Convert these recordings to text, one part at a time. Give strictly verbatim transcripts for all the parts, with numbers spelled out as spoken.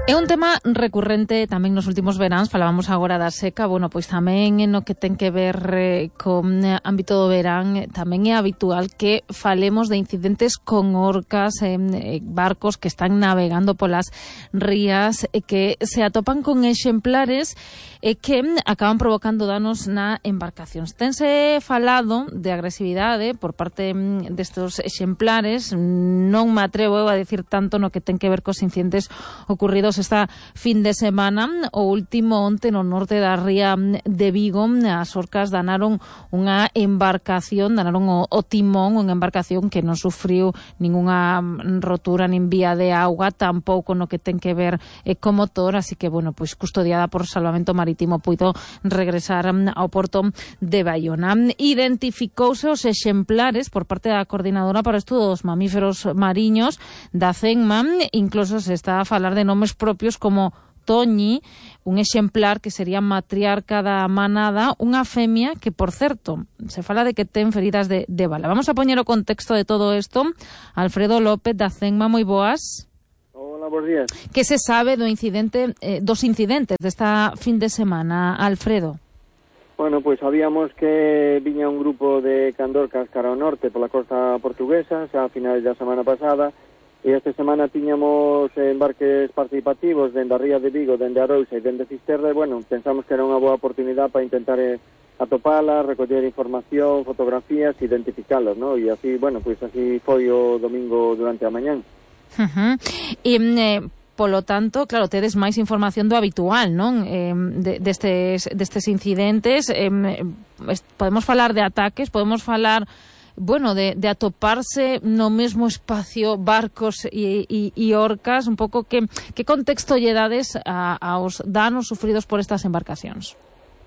É un tema recurrente tamén nos últimos veráns, falábamos agora da seca, bueno, pois tamén no que ten que ver eh, con ámbito do verán, tamén é habitual que falemos de incidentes con orcas, eh, barcos que están navegando polas rías, eh, que se atopan con exemplares e eh, que acaban provocando danos na embarcacións. Tense falado de agresividade por parte destes exemplares, non me atrevo a decir tanto no que ten que ver cos incidentes ocurridos esta fin de semana. O último onte no norte da ría de Vigo, as orcas danaron unha embarcación, danaron o, o timón, unha embarcación que non sufriu ningunha rotura nin vía de auga, tampouco no que ten que ver eh, co motor, así que, bueno, pois custodiada por Salvamento Marítimo puido regresar ao porto de Baiona. Identificouse os exemplares por parte da Coordinadora para o Estudo dos Mamíferos Mariños da CENMA, incluso se está a falar de nomes propios como Toñi, un exemplar que sería matriarca da manada, unha femia que, por certo, se fala de que ten feridas de, de bala. Vamos a poñer o contexto de todo isto. Alfredo López da CENMA, moi boas. Hola, bons días. Que se sabe do incidente, eh, dos incidentes desta fin de semana, Alfredo? Bueno, pois pues, sabíamos que viña un grupo de candorcas cara ao norte pola costa portuguesa, xa a finais da semana pasada, e esta semana tiñamos embarques participativos dende a ría de Vigo, dende Arousa e dende Fisterra, e, bueno, pensamos que era unha boa oportunidade para intentar eh, atopalas, recoller información, fotografías, identificalas, ¿no? E así, bueno, pois pues, así foi o domingo durante a mañán. Uh-huh. E, eh, polo tanto, claro, tedes máis información do habitual, non? Eh, de, destes, destes incidentes, eh, podemos falar de ataques, podemos falar... bueno, de, de atoparse no mesmo espacio barcos e, e, e orcas, un pouco que, que contexto lle dades a, aos danos sufridos por estas embarcacións?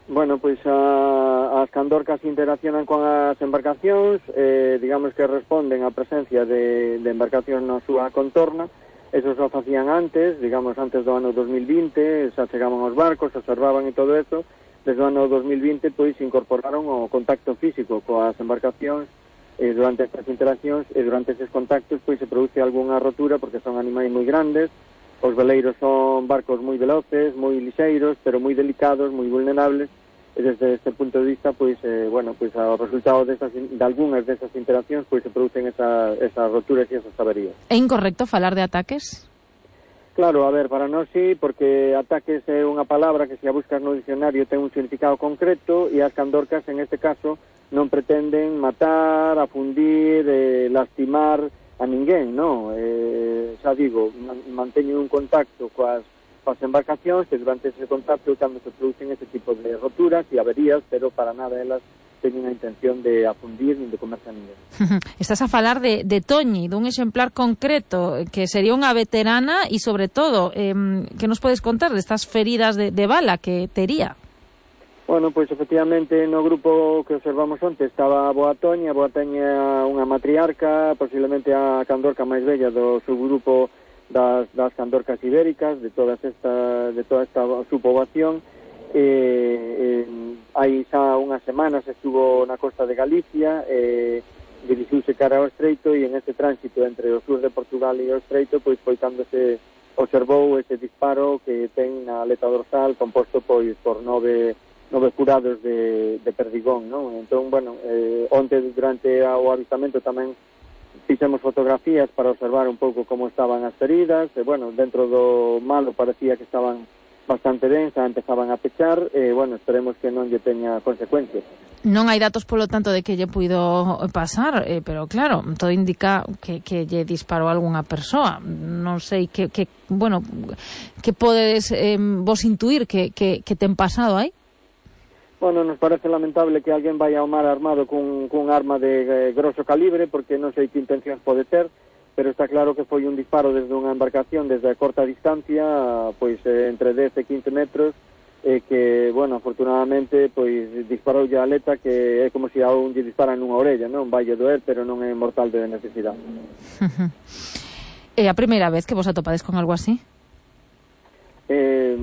Bueno, pois a, as candorcas interaccionan con as embarcacións, eh, digamos que responden á presencia de, de embarcacións na súa contorna. Eso só facían antes, digamos antes do ano dos mil vinte, xa chegaban os barcos, observaban e todo eso. Desde o ano dos mil vinte, pois, incorporaron o contacto físico coas embarcacións. E durante estas interaccións e durante estes contactos pois se produce algunha rotura porque son animais moi grandes. Os veleiros son barcos moi veloces, moi lixeiros, pero moi delicados, moi vulnerables, e desde este punto de vista pois eh, bueno, pois ao resultado destas, de algunhas destas interaccións pois se producen esa, esas roturas e esas averías. É incorrecto falar de ataques? Claro, a ver, para nós sí, porque ataques é unha palabra que se a buscas no dicionario ten un significado concreto, e as candorcas en este caso non pretenden matar, afundir, eh, lastimar a ninguén, non? Eh, xa digo, manteñen un contacto coas, coas embarcacións, e durante ese contacto cando se producen ese tipo de roturas e averías, pero para nada elas teñen a intención de afundir nin de comerse a ninguén. Estás a falar de, de Toñi, dun exemplar concreto, que sería unha veterana e, sobre todo, eh, que nos podes contar destas feridas de, de bala que tería? Bueno, pois efectivamente no grupo que observamos onte estaba a Boa Toña. A Boa Toña unha matriarca, posiblemente a candorca máis bella do subgrupo das, das candorcas ibéricas, de todas esta, de toda esta subpoboación. Eh, eh, hai xa unhas semanas estuvo na costa de Galicia, eh, dirixiuse cara ao Estreito, e en este tránsito entre o sur de Portugal e o Estreito, pois foi cando se observou ese disparo que ten na aleta dorsal composto pois por nove nove furados de, de perdigón, non? Entón, bueno, eh, onte durante o avistamento tamén fixemos fotografías para observar un pouco como estaban as feridas, e, bueno, dentro do malo parecía que estaban bastante ben, xa empezaban a pechar, e, bueno, esperemos que non lle teña consecuencias. Non hai datos, polo tanto, de que lle puido pasar, eh, pero claro, todo indica que, que lle disparou a algunha persoa. Non sei que, que bueno, que podedes eh, vos intuir que, que, que ten pasado aí? Bueno, nos parece lamentable que alguén vai ao mar armado cun, cun arma de eh, grosso calibre, porque non sei que intencións pode ter, pero está claro que foi un disparo desde unha embarcación desde a corta distancia, pois eh, entre dez e quince metros, e eh, que, bueno, afortunadamente, pois disparoulle a aleta, que é como se a un lle disparan nunha orella, non? Vai a doer, pero non é mortal de necesidade. É a primeira vez que vos atopades con algo así? Eh...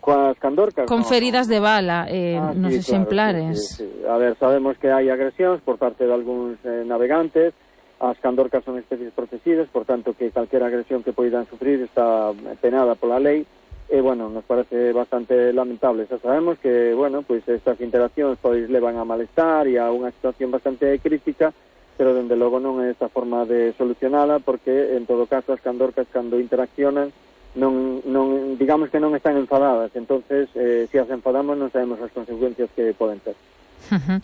coas candorcas, con no, feridas no. de bala eh, ah, nos sí, exemplares. Claro, sí, sí, sí. A ver, sabemos que hai agresións por parte de algúns eh, navegantes, as candorcas son especies protegidas, por tanto que calquera agresión que poidan sufrir está penada pola lei, e, bueno, nos parece bastante lamentable. Xa sabemos que, bueno, pois estas interaccións pois levan a malestar e a unha situación bastante crítica, pero, dende logo, non é esta forma de solucionala, porque, en todo caso, as candorcas, cando interaccionan, non, non digamos que non están enfadadas, entonces eh, se as enfadamos non sabemos as consecuencias que poden ter. Uh-huh.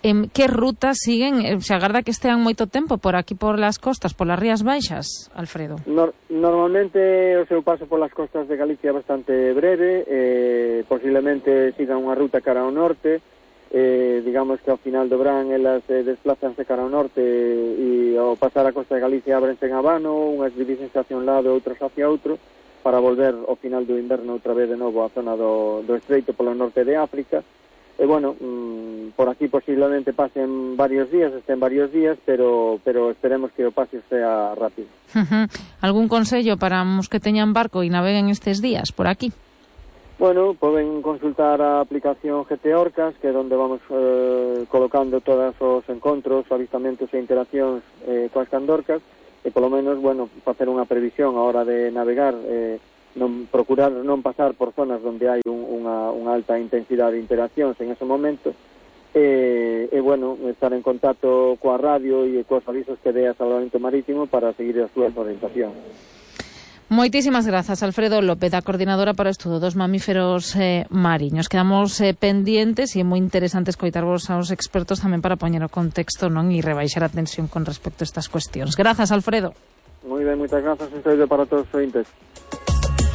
En que rutas siguen? Se agarda que estean moito tempo por aquí, por las costas, por las Rías Baixas, Alfredo? Nor normalmente o seu paso por las costas de Galicia é bastante breve, eh, posiblemente sigan unha ruta cara ao norte, eh, digamos que ao final do verán elas eh, desplazanse cara ao norte e ao pasar a costa de Galicia ábrense en Habano, unhas divísense hacia un lado e outros hacia outro, para volver ao final do inverno outra vez de novo á zona do, do estreito polo norte de África. E, bueno, mmm, por aquí posiblemente pasen varios días, estén varios días, pero pero esperemos que o paso sea rápido. Uh-huh. Algún consello para os que teñan barco e naveguen estes días por aquí? Bueno, poden consultar a aplicación G T Orcas, que é onde vamos eh, colocando todos os encontros, avistamentos e interaccións eh, coas candorcas, e polo menos, bueno, facer unha previsión a hora de navegar, eh, non procurar non pasar por zonas onde hai un, unha, unha alta intensidade de interaccións en ese momento, e, e, bueno, estar en contacto coa radio e coas avisos que dé a Salvamento Marítimo para seguir as súas orientacións. Moitísimas grazas, Alfredo López, a coordinadora para o estudo dos mamíferos eh, mariños. Quedamos eh, pendientes e é moi interesante escoitarvos aos expertos tamén para poñer o contexto, non, e rebaixar a tensión con respecto a estas cuestións. Grazas, Alfredo. Moi ben, moitas grazas, un saúdo para todos os ointes.